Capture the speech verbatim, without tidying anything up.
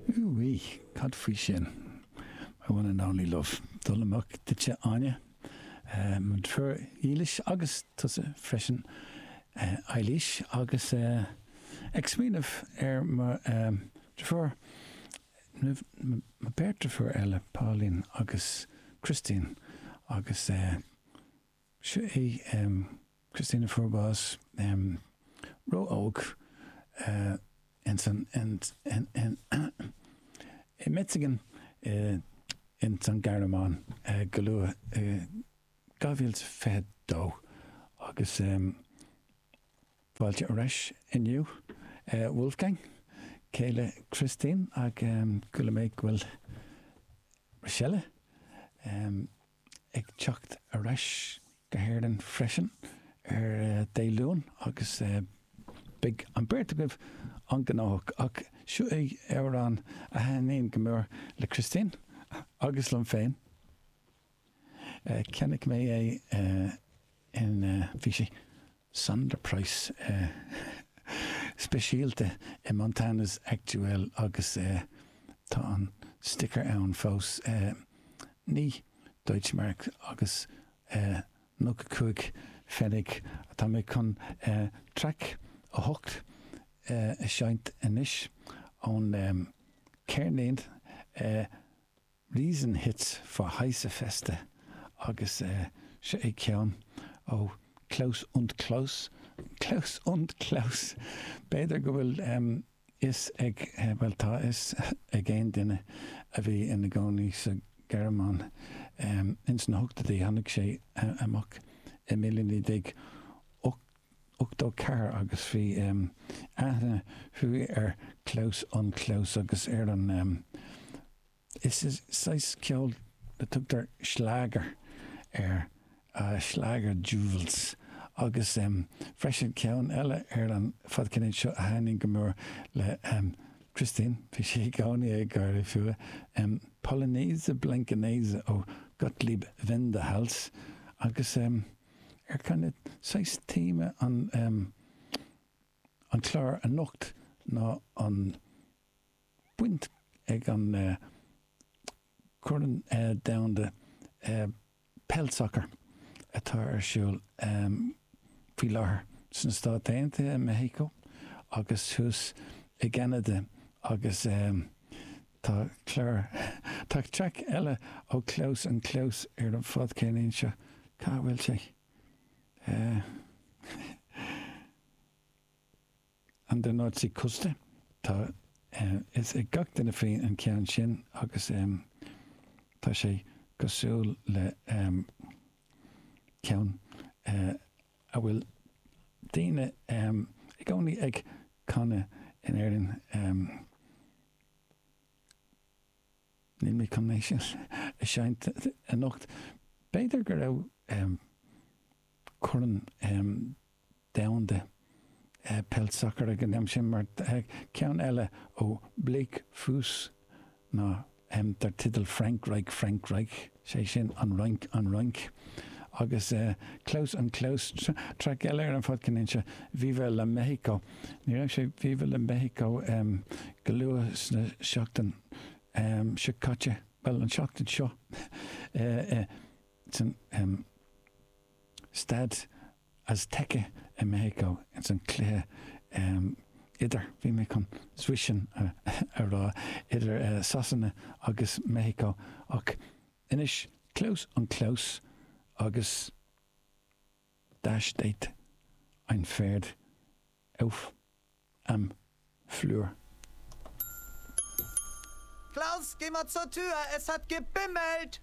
Úí, cad faoi sin? My one and only love. Dul amach duitse Áine, mo dheirfiúr dhílis agus tusa freisin Eilís agus ag smaoineamh ar mo dheirfiúr, mo beirt deirfiúr eile, Pauline agus Christine agus seo í Christine a fuair bás ró-óg ins an i Metzingen ins an Ghearmáin go luath i dhá mhíle is fiche dó agus fáilte ar ais inniu Wolfgang, céile Christine ach chuala mé go bhfuil Rochelle ag teacht ar ais go hÉirinn freisin ar Dé Luain agus beidh an beirt agaibh an-ghnóthach ach seo é amhrán a thaitníonn go mór le Christine agus liom féin. Cheannaigh mé é in, bhí sé Sonderpreis speisialta i Montana's Aktuell agus tá an sticker ann fós, naoi Deutsche Mark agus nócha cúig pfennig. Tá mé chun traic a hocht a seinnt anois ón ceirnín Riesenhits für heiße Feste agus seo é ceann ó Klaus und Klaus, Klaus und Klaus. B'fhéidir go bhfuil fhios ag, bhuel tá fhios ag aon duine a bhí ina gcónaí sa Ghearmáin ins na hochtóidí, tháinig sé amach i míle naoi déag ochtó ceathair agus bhí aithne fiú ar Klaus und Klaus agus ar an, is saghas ceol a tugtar Schlager air, Schlager Jewels agus freisin ceann eile ar an fadcheirnín seo a thaitníonn go mór le Christine, bhí sí i gcónaí ag gáire fúithi, Polonaise Blankenese ó Gottlieb Wendehals agus ar kind of saghas téama an an clár anocht ná an baint ag an Corn Domhanda Peil Sacair atá ar siúl faoi láthair sna Stáit Aontaithe, i Meicsiceo agus thuas i gCeanada agus tá clár, tá traic eile ó Klaus und Klaus ar an fadcheirnín seo. Cá bhfuil sé? An der Nordseeküste. Tá fhios ag gach duine faoi an ceann sin agus tá sé cosúil le ceann a bhfuil daoine i gcónaí ag canadh in Éirinn. Níl mé chun é sin a sheinnt anocht. B'fhéidir go raibh Corn Domhanda Peil Sacair ag an am sin mar ceann eile ó Bleikfuss ná dar teideal Frankreich, Frankreich, sé sin an Fhrainc, an Fhrainc. Agus Klaus und Klaus, traic eile ar an fadcheirnín seo, Viva la Mexico. Ní raibh sé Viva la Mexico go luath sna seachtain seo caite, bhuel an seachtain seo, san Staid Azteca i Meicsiceo ins an cluiche idir, bhí mé chun zwischen a rá, idir Sasana agus Meicsiceo ach anois Klaus und Klaus agus Da steht ein Pferd auf am Flur. Klaus, geh mal zur Tür, es hat gebimmelt!